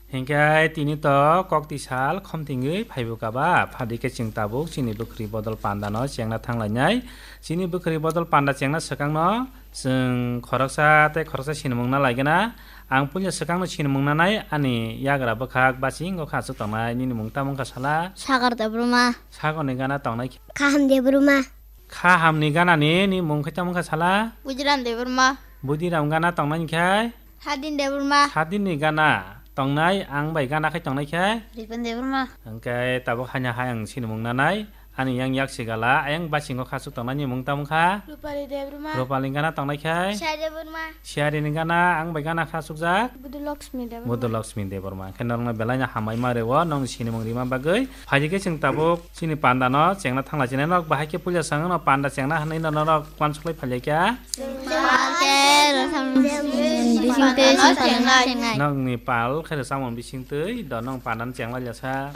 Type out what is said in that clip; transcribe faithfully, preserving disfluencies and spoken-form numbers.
Hinkhe tini to kokti sal khomtingwi phaibo kaba, phadi khe chwng tabuk chini bwkhwrwi bodol panda no chengna thanglainai. Chini bwkhwrwi bodol panda chengna swkang no chwng khoroksa tei khoroksa sinimung na laigana. Ang puila swkang no sinimung nanai ani yagra bwkhak bachingo kha aswk tongnai. Nini mung tamo wngkha sala? Sagar Debbarma. Sagor ni gana tongnai khe? Kaham Debbarma. Kaham ni gana ni, ni mung khe tamo wngkha sala? Budiram Debbarma. Budiram gana tongnai khe? Sadin Debbarma. Sadin ni gana tongnai, ang bai gana khai tongnai khe? Ripan Debbarma. Hwnkhe tabuk haino hai ang sinimung nanai. Ani yang yak sigala, ayang basingo khasuk tongnai ni mung tamo kha? Rupali Debbarma. Rupali gana tongnai khe? Shai Debbarma. Shari ni gana, ang bai gana khasukjak? Budu Lakshmi Debbarma. Budu Lakshmi Debbarma. Hwnkhe norokno belai no hambai ma rwo, nong sinimung rima bagwi. Phaidi khe chwng tabuk chini panda no chengna thangla chinai, norok bahai khe puila swngno panda chengna hwnwi no norok uansuklai phailai kha. Pal khe rwchapmung bisingtwi songchar chengnai. Nokni pal khe rwchapmung bisingtwi do nong panda no chenglai lasa.